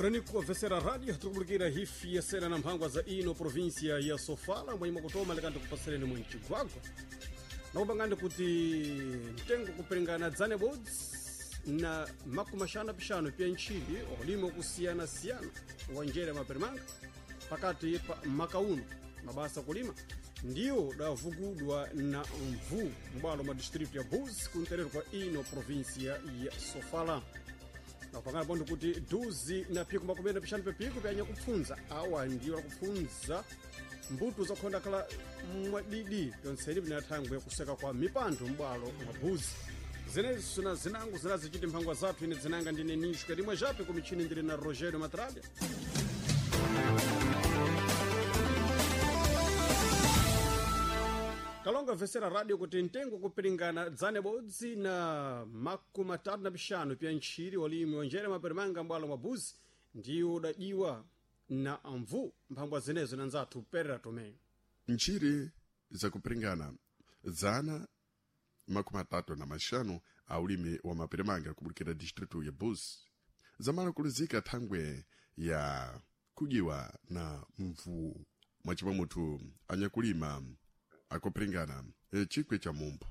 Baraniku vesera rádio tukubulikira hifi ya sera na mphangwa za ino província ya Sofala mwanyuma kutoma lekandi kupasereni mwenchigwagwa nakupangani kuti mtengo kupelengana dzane bodzi na makumi axanu apixanu pya ntchili olima okusiyana-siyana wa njere maperimanga pakati pa makauno mabasa kulima ndiwo davugudwa na mvu m'bwalo mwa distrito ya Buzi kunterero kwa ino província ya Sofala. Napangana pondo kuti duzi na phiko makumi na pixanu pepiko pyanya kupfunza awa ndiwo akupfunza mbuto zakhonda khala mwadidi yontseni pina thangwe yakuseka kwa mipando m'bwalo mwa Buzi. Zenezo na zinango zinazichiti mphangwa zathu ine dzinanga ndine Nishka limwe jape ku michini ndili na Rogério Matralha. Kalonga vesera radio kuti mtengo kupiringana dzane bodzi na makumi atatu na pixanu pya ntchiri walimi wanjere maperimanga m'bwalo mwa Buzi ndiwo udajiwa na mvu mphangwa zenezo na nzathu Perera Tomé. Ntchiri zakupiringana dzana makumi atatu na maxanu a ulimi wa maperimanga kubulikira distritu ya Buzi zamala kuluzika thangwe ya kujiwa na mvu mwacimwa muthu anyakulima akupiringana chikwe cha mumphu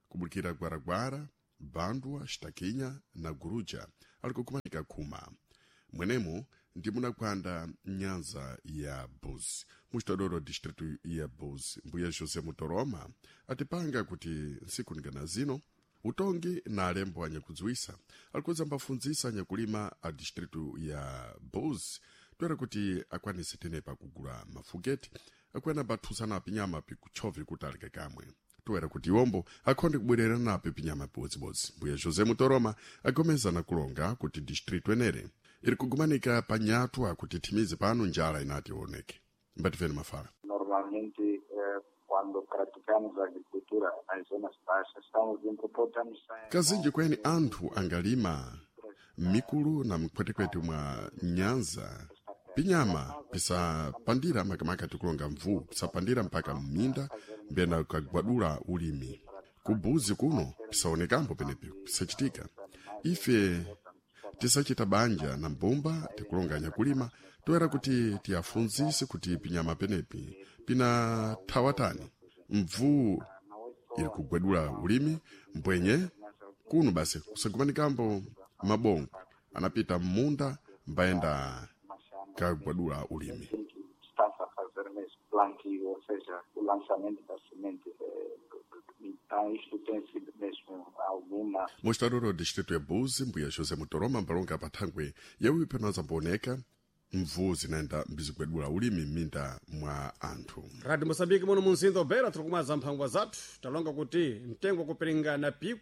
kubulikira gwaragwara bandwa xitakinya na guruja ali kukumanika khuma mwenemu ndi munakwanda nyanza ya Buzi muxitodoro distritu ya Buzi mbuya José Mutoroma atipanga kuti ntsiku ningana zino utongi na alembo anyakudziwisa alikuza mbafundzisa anyakulima a distritu ya Buzi toera kuti akwanise tenepa kugula mafuketi akwena bathusana pinyama pikutchove kuti aleke kamwe toera kuti iwombo akhonde kubwerera napo pinyama pibodzibodzi mbuya José Mutoroma agomeza na kulonga kuti distritu enere iri kugumanika panyatwa kuti thimize pano njala inati ioneke mbatifeni mafala. Normalmente, quando praticamos agricultura nas zonas baixas, estamos importamos sem. Kazinji kweni anthu angalima mikulu na mkhwetekwete mwa nyanza pinyama pisapandira makamaka tikulonga mvu pisapandira mpaka mminda mbena kagwadula ulimi kubuzi kuno pisaonekambo penepi pisachitika ife tisachita banja na mbumba tikulonga nyakulima toera kuti tiyafunzise kuti pinyama penepi pina thawatani mvu iri kugwedula ulimi mbwenye kuno basi kusagumanikambo mabongo anapita mmunda mbayenda kagwadula ulimi. Está-se a fazer mesmo plantio, ou seja, o lançamento da semente. Então, isto tem sido mesmo alguma. Mostrador distrito ya Buzi mbuya José Mutoroma mbalonga pathangwe yawipi panazambooneka mvu zinaenda mbizigwedula ulimi m'minda mwa anthu. Radio Moçambique muno munzinda wa Beira tiri mphangwa zathu talonga kuti mtengo kupiringana pi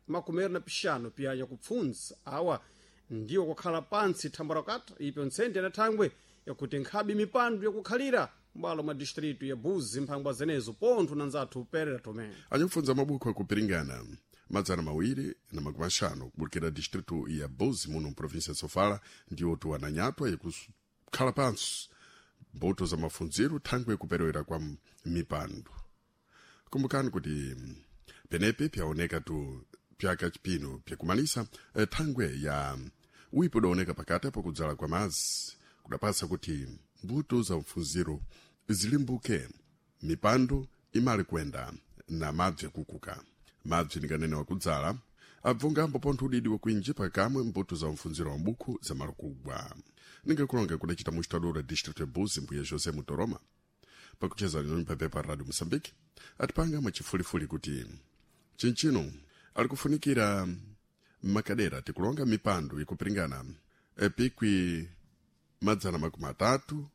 makumi na pixanu pya yakupfunza awa ndiwo kukhala pantsi thambwa rakata ipyo ntsende na thangwe yakuti nkhabe mipando yakukhalira m'bwalo mwa distritu ya Buzi mphangwa zenezo pontho na nzathu Perera Tomé. Anyakufunza mabuku akupiringana 250 kubulikira distritu ya Buzi muno mprovinsia ya Sofala ndiwo tuwananyatwa yakukhala pansi mbuto za mafunziro thangwe kuperewera kwa mipando. Kumbukani kuti penepi pyaoneka tu pyaka chipino pyakumalisa thangwe ya wipo udaoneka pakati pakudzala kwa mazi kudapasa kuti mbuto za mfunziro zilimbuke mipando imali kwenda na mabzi akukuka mabzi ndikanene wakudzala abvungambo pontho udidi wakuinji pakamwe mbuto za mfunziro wa mbuku zamalukugwa ningakulonga kudacita muxitadora district ya Buzi mbuya José Mutoroma pakucheza noni papepa radio Moçambique atipanga mwachifulifuli kuti chinchino ali kufunikira makadera tikulonga mipando ikupiringana pikwi 320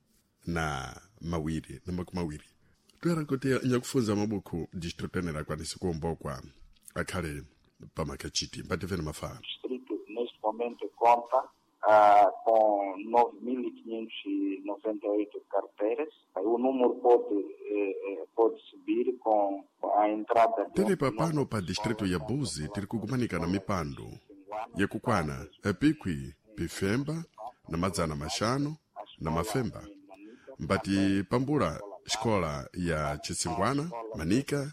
toera kuti nyakufunza mabuku district enera akwanise kuombokwa akhale pamakachiti mbativeni mafala. Distrito, neste momento, conta com 9.598 carteiras. O número pode subir com a entrada de Tenepa pano pa distrito ya Buzi tiri kugumanika na mipando yakukwana pikwi pifemba na 500 mbati pambula xikola ya Chisingwana, Manika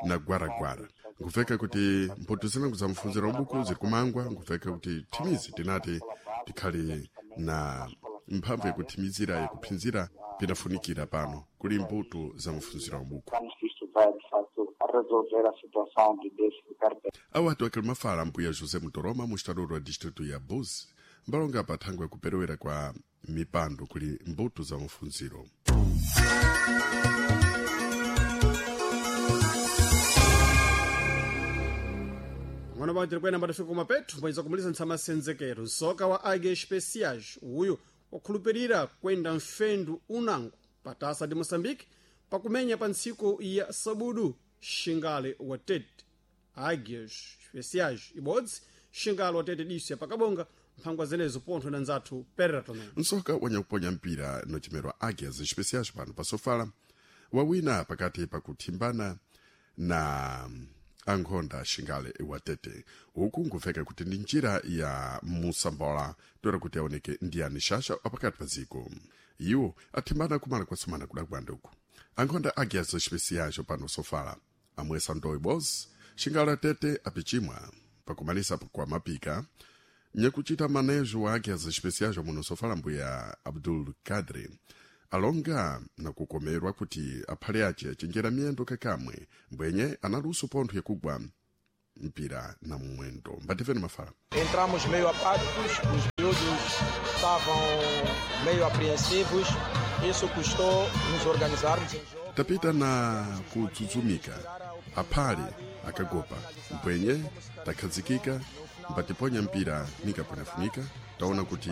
na Gwaragwara. Nkuveka kuti mphotho zinango za mfunziro wa buku ziri kumangwa, nkuveka kuti thimizi tinati tikhale Na mphamvu yakuthimizira yakuphinzira pinafunikira pano kuli mbuto za mafunziro abuku. Pensamos que isto vai, de facto, resolver a situação de déficit carteira. Awatu akili mafala mbuya José Mutoroma, mustadoro wa distritu ya Buzi, mbalonga pa thangwe yakuperewera kwa mipando kuli mbuto za mafunziro. Pang'ono pano tiri kuyenda matafika kumapeto mbwenza kumaliza ntsamasenzekero nsoka wa Águia Especiais uyu wakhulupirira kwenda mfendu unango patasa di Moçambique pakumenya pa ntsiku ya sabudu xingale wa tete. Águias Especiais ibodzi, xingale wa tete diso ya pakabonga mphangwa zenezo pontho na nzathu Perera Tomé. Nsoka wanyakuponya mpira nochimerwa Águias Especiais pano pasofala wawina pakati pakuthimbana na ankhonda xingale watete. Uku nkufeka kuti ndi njira ya musambola toera kuti aoneke ndiyani xaxa apakati pa dziko. Iwo athimbana kumala kwasumana kudakwanda uku. Ankhonda Águias Especiais pano sofala amwesa ndoyi boss xingale atete apichimwa pakumalisa kwa mapika nyakuchita manejo wa Águias Especiais muno sofala mbuya Abdul Kadri alonga na kukomerwa kuti aphale ace achenjera miyendo kakamwe mbwenye analuso pontho yakugwa mpira na mwendo. Mbatifeni mafala. Entramos meio apáticos, os miúdos estavam meio apreensivos, isso custou nos organizarmos em jogo. Tapita na kudzudzumika aphale akagopa mbwenye takhazikika mbatiponya mpira nikaponafunika taona kuti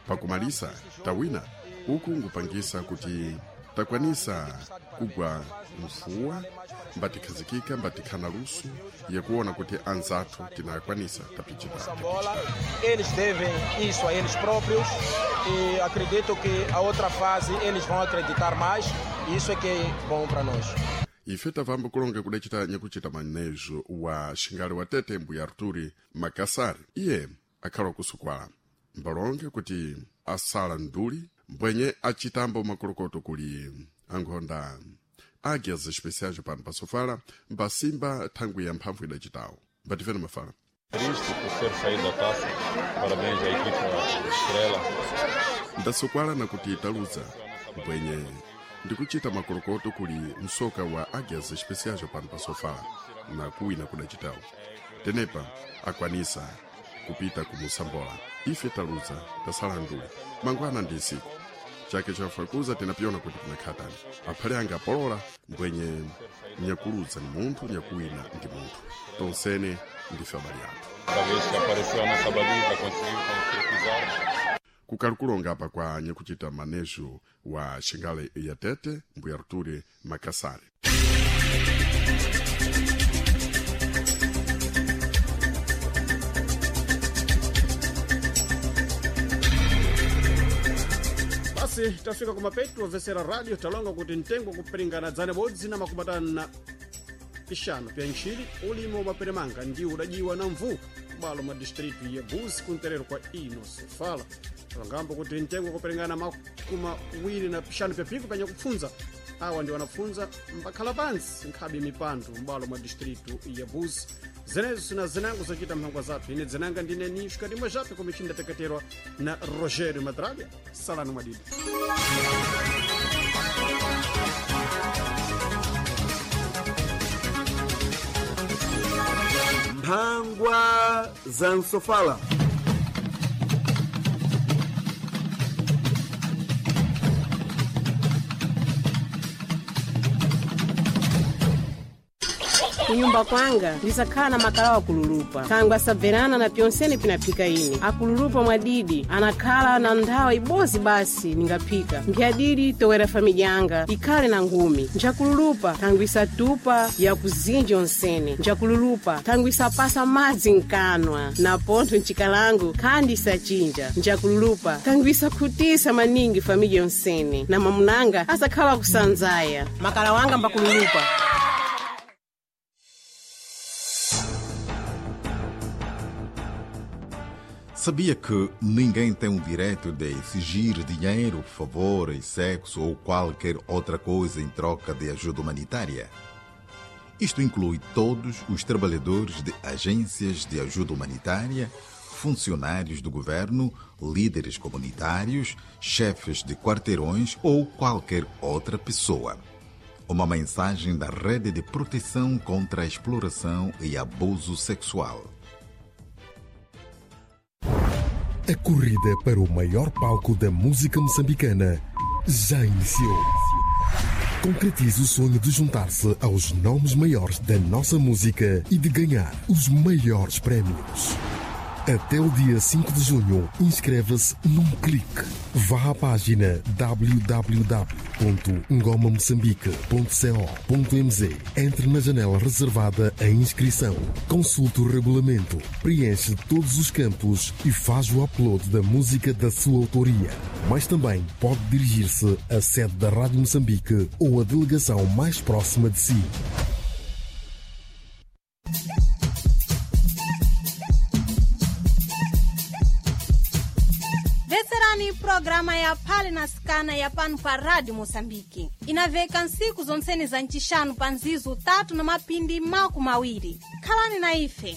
pakumalisa tawina. Uku nkupangisa kuti takwanisa kugwa mfuwa mbatikhazikika mbatikhana luso yakuona kuti anzathu tinakwanisa tapichita. Bola, eles devem isso a eles próprios e acredito que a outra fase eles vão acreditar mais e isso é que é bom para nós. Ife tavamba kulonga kudacita nyakuchita manejo wa xingale wa tete mbuya Arturi Makasari. Iye akhala kusukwala mbalonge kuti asala nduli mbwenye achitambo makolokoto kuli ankhonda Águias Especiais pano pasofala mbasimba thangwi ya mphamvu idacitawo. Mbatifeni mafala. Triste por ser saído da taça. Parabéns à equipa Estrela. Ndasukwala nakuti taluza mbwenye ndikuchita makolokoto kuli msoka wa Águias Especiais pano pasofala na kuwina kudacitawo. Tenepa akwanisa kupita kumusambola. Ife taluza tasala nduli mangwana ndi nsiku chake chafakuza tinapyona kuti tinakhatani aphale anga apolola mbwenye nyakuluza ni munthu nyakuwina ndi munthu tonsene ndife abale athu. Cada vez que apareceu a nossa baliza, conseguiu concretizar. Kukalukulonga apa kwa nyakuchita manejo wa xingale ya tete mbuya Arturi Makasari. Basi tafika kumapeto omvesera radio talonga kuti mtengo kupiringana dzane bodzi na makumi atanu na ixanu pya ntchili ulimi wa maperemanga ndiwo udajiwa na mvu kubalo mwa distritu ya Buzi kunterero kwa ino sofala. Talongambo kuti mtengo kupiringana makumi awiri na pixanu pya pico pya nyakupfunza awa ndi wanapfunza mbakhala pansi nkhabe mipandu m'balo mwa distritu ya Buzi. Zenezo sina zinango zochita mphangwa zathu. Ine dzinanga ndine Nishka ndimwe zhape kumichinda teketerwa na Rogério Madraga. Salano mwadidi. Mphangwa za Nsofala. Kunyumba kwanga ndisakhala na makalawa akululupa thangwe asabverana na pyonsene pinaphika ine akululupa mwadidi anakhala na nthawi ibozi basi ningaphika mphyadidi towera famidya yanga ikhale na ngumi. Njakululupa thangwe isatupa yakuzinja onsene. Njakululupa thangwe isapasa madzi mkanwa na pontho mchikalango khandi isachinja. Njakululupa thangwe isakhutisa maningi famidya yonsene na mamunanga asakhala kusanzaya. Makala wanga mbakululupa. Sabia que ninguém tem o direito de exigir dinheiro, favores, sexo ou qualquer outra coisa em troca de ajuda humanitária? Isto inclui todos os trabalhadores de agências de ajuda humanitária, funcionários do governo, líderes comunitários, chefes de quarteirões ou qualquer outra pessoa. Uma mensagem da Rede de Proteção contra a Exploração e Abuso Sexual. A corrida para o maior palco da música moçambicana já iniciou. Concretize o sonho de juntar-se aos nomes maiores da nossa música e de ganhar os maiores prémios. Até o dia 5 de junho, inscreva-se num clique. Vá à página www.ngomamoçambique.co.mz. Entre na janela reservada à inscrição. Consulte o regulamento, preenche todos os campos e faz o upload da música da sua autoria. Mas também pode dirigir-se à sede da Rádio Moçambique ou à delegação mais próxima de si. Veserani programa ya Phale na Sikana ya pano pa Rádio Moçambique. Inaveka nsiku zonseni za ncixanu pa nzizu 3 na mapindi 20. Khalani na ife.